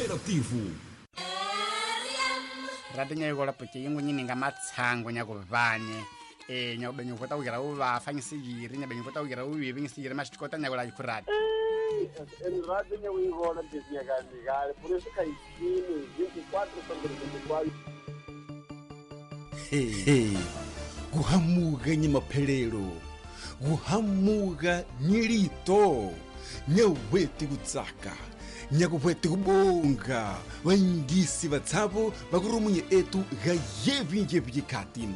Interativo. Radinya yola puti yingu nyini nga matsango nyakuvanye nyakubenyu kota kugira uvafa ngisigiri nyabenyu kota kugira uvivi ngisigiri mashikota nyakula yikurati Radinya uyivola ndiznyakandikale por isso kaisini 24 sobre 24. Hey, kuhamuka nyimaphelelo, kuhamuka nyilito, nyaweti kutsaka, nyakuweti kubonga, vanyingisi vatsavo vakurumunye etu ga yevinjevi khati.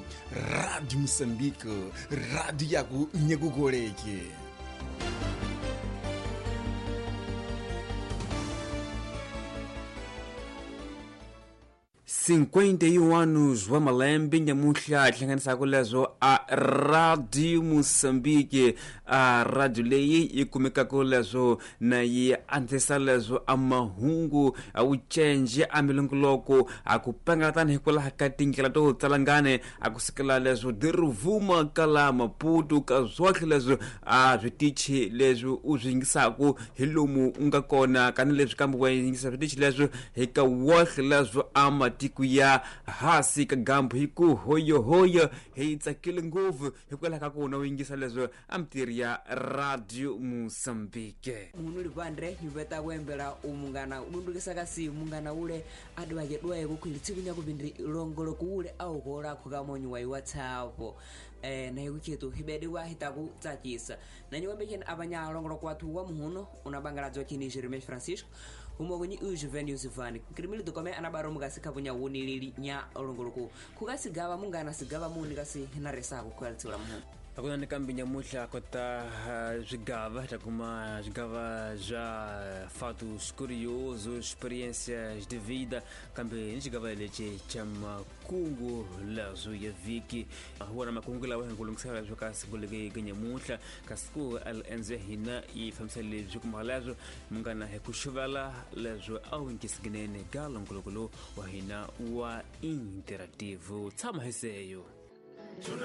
Radio Moçambique, radio yaku nyakukoleke. 51 anos wa malembe nyamuhla hlanganisaka leswo a Radio Moçambique, a radio leyi yi kumekaka leswo na yi antswisa leswo a mahungu a wucenje a milongoloko a ku pangala tani hikwalaho ka tindlela to tsalangane a ku sukela leswo diruvuma ka la Maputo ka swohle leswo a switichi leswi u swi yingisaka hi lomu u nga kona kani leswi kambe wa yingisa switichi leswo hi ka wohle leswo a matiko ya hasi ka gambu hi ku hoyohoyo hi tsakile ngopfu hikwalaho ka ku na u yingisa leswo a mitirhi ya Radio Moçambique. Munhu livandre hiveta kuembela umungana udundukisa kasi mungana ule adwake dwaye kukhwili tsiku nyakupindri longolo kuule aukola khukamonyi wa WhatsApp naye kuchetu hibedi wa hitaku tsakisa nanyiwambecheni apanya longolo kwathu wa muhuno unabangaladzo chini Jeremias Francisco humokunyi ujuven Yusufani kirimili dukome anabaro mukasi khapunya wunilili nya longoloku khukasigava mungana sigava muni kasi hinaresaku khuyatsiula muhuno. Akuna kambi nyamuhla kota zwigava takuma zwigava zwa fatos curiosos, experiências de vida, kambe ni xigava lexi xa makungu leswo ya vhiki. Wona makungu lawa hi ku lunghisela leswo ka siku leke nyamuhla ka siku LNZ hina yi fambisa leswi kuma leswo munghana hi ku xuvela leswo a wu nkisinene ka longoloko lowu wa hina wa interactive. Tshama hi seyo.